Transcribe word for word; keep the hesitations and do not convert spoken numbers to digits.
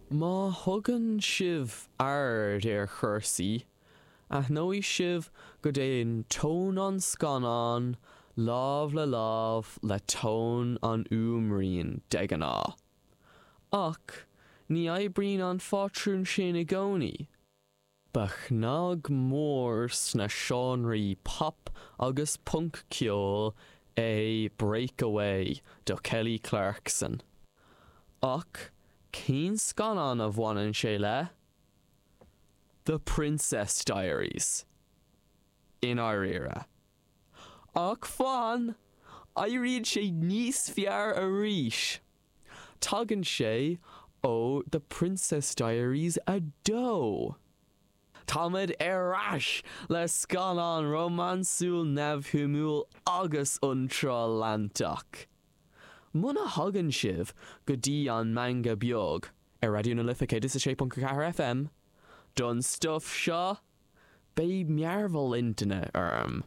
Má thugann sibh aird ar chúrsaí, aithneoidh sibh go dtéann tón an scannáin lámh le lámh le tón an fhuaimriain, de ghnáth. Ach ní oibríonn an phátrún sin i gcónaí. Ba chnag mór sna seánraí pop agus punc-cheoil é Breakaway do Kelly Clarkson. Ach cén scannán a bhaineann sé le? The Princess Diaries. I ndáiríre. Ach fan! Éiríonn sé níos fearr arís! Tagann sé ó The Princess Diaries a dó! Táimid ar ais le scannán rómánsúil neamhshuimiúil agus iontráil leantach. Muna thagann sibh go dtí an Meangadh Beag ar Raidió na Life céad is a sé ponc a ceathair FM don stuif seo, beidh mearbhall intinne orm.